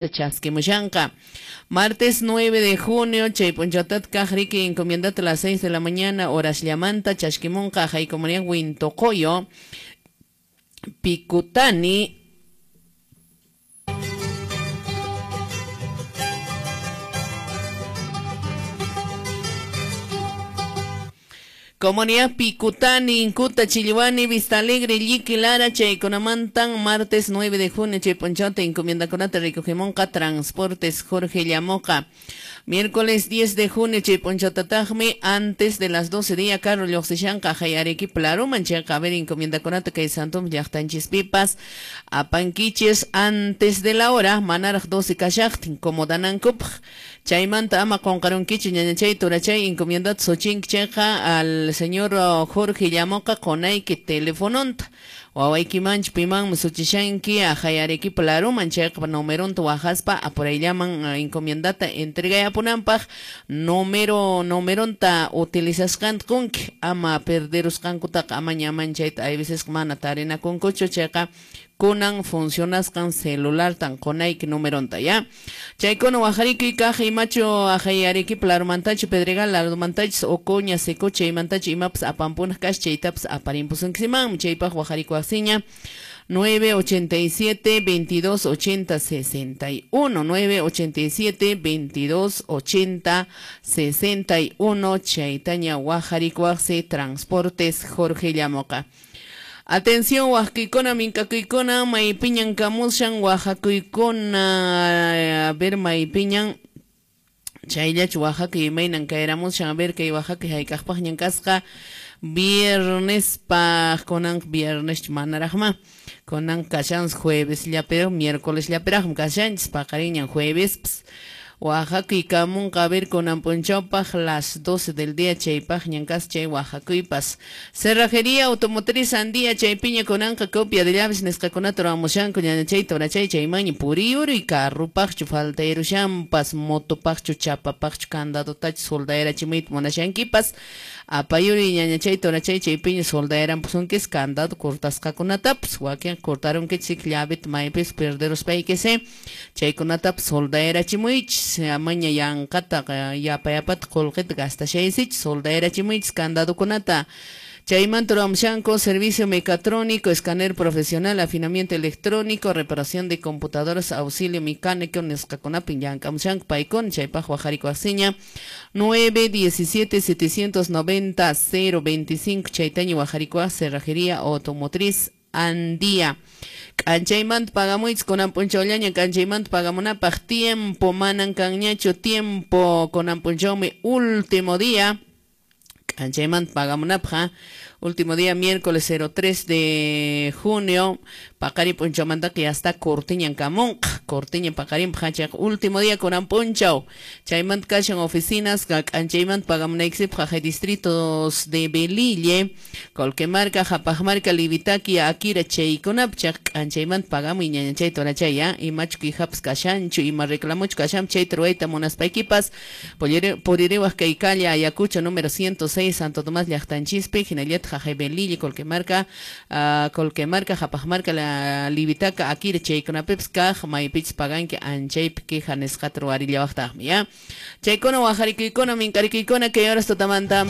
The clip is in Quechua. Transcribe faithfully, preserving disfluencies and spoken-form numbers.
Chaskimushanqa. Martes nueve de junio, chay punchawtat kaq riki encomiendata a las seis de la mañana, horas llamanta, chashkimunqa, hay comunidad Huintocoyo, Picutani, Comunidad Picutani, Incuta, Chilliwani, Vista Alegre, Lliqui, Lara, Chaykunamantan, martes nueve de junio, Chayponchauta, encomienda kunata, recogemonca, Transportes, Jorge Llamoca. Miércoles diez de junio, Chayponchautatagmi, antes de las doce día, Carlos Lloxishanka, Jayarequi, Plaruman, Chayka, a ver, encomienda kunata, que Santum, Llaqtanchispipas, Apanquiches, antes de la hora, Manaraj doce Kashachtin, como Danankupj, Chaymanta, ama qonqarunkichu, ñañachay, turachay, encomienda Xochink, Chayka, al señor Jorge Llamoca, qonayki telefononta. Wawayki manch piman suchishanki ajayareki plaruman chayqa numeronta wajaspa apurayllaman encomiendata entregayapunanpaq número numeronta utilizasqanta qunki ama perderusqankutaqa ama ñaman chayta hay veces mana tarinakunkuchu chayqa kunan funcionasqan celulartan qonayki numeronta ya chaykuna wajarikuy kaq imachu ajayareki plarumantachu Pedregal larumantachu Ocoña Secocha imantachu imapas apampunaq kash chaytapas aparimpusunkiman chaypaq wajarikuwaqsiña nueve ochenta y siete veintidós ochenta sesenta y uno nueve ochenta y siete veintidós ochenta sesenta y uno chaytaña wajarikuwaqsi Transportes Jorge Llamoca. Atención, huasquicona, mincacuicona, maipiñan, camushan, oaxacuicona, a ver, maipiñan, chayllach, Oaxaca, y mainan, caeramushan, a ver, que Oaxaca, haykaqpaqñan kasqa, viernes, paj, conan, viernes, manarajma, conan, kashan, jueves, llapero, miércoles, llaperajm, kashan, paqariñan, jueves, ps, Oaxaca y kamunqa a ver con ampunchawpaq las doce del día chaypaq ñankas chay Oaxacuypas. Cerrajería automotriz Andía chaypiña konanqa copia de llaves nisqakunata ruwamushanku ñañachay torachay chaymaña puriyuru y carrupaqchu faltayrushampas motopaqchu chapapaqchu candadotachu soldayarachimuyta munashankipas apayuri ñañachay torachay chaypiña soldayarampusunkis candado cortasqakunatapas wakin cortarunkichik llaveta maypis perderuspaykisi chaykunatapas soldayarachimuychis amaña yanqata yapa yapata qullqita gastashaysichis soldayarachimuychis candadokunata. Chaymanta ruwamushanku servicio mecatrónico, escáner profesional, afinamiento electrónico, reparación de computadoras, auxilio mecánico, nisqakunapi llank'amushanku paykuna chaypaq wajarikuwaqsiña nueve diecisiete setecientos noventa cero veinticinco chaytaña wajarikuwaq Cerrajería Automotriz Andía. K'anchaymanta pagamuychis kunan p'unchawllaña k'anchaymanta pagamunapaq tiempo manan kanñachu tiempo kunan p'unchawmi último día k'anchaymanta pagamunapaq último día miércoles cero tres de junio paqari p'unchawmantaqa ya está cortiñan kamunqa cortiñan paqarinpaq chayqa último día kunan p'unchaw chaymanta kashan oficinas k'anchaymanta pagamunaykisipaq jaqay distritos de Belille, Colquemarca, Japajmarca, Livitaqui, Akira chaykunap chayqa k'anchaymanta pagamuy ñañachay torachay ya imachu quejapas kashanchu ima reclamuchu kashan chayta ruwayta munaspaykipas puririwaq kay calle Ayacucho número ciento seis Santo Tomás llaqtanchispi hinallataq jaqay Belille, Colquemarca, uh, Colquemarca, Japajmarca, la Livitaca, Akira chaykunapipas kaq maypichis paganki anchaypi queja nisqata ruwarillawaqtaqmi ya chaykuna wajarikuykuna minkarikuykuna kay horas tutamanta.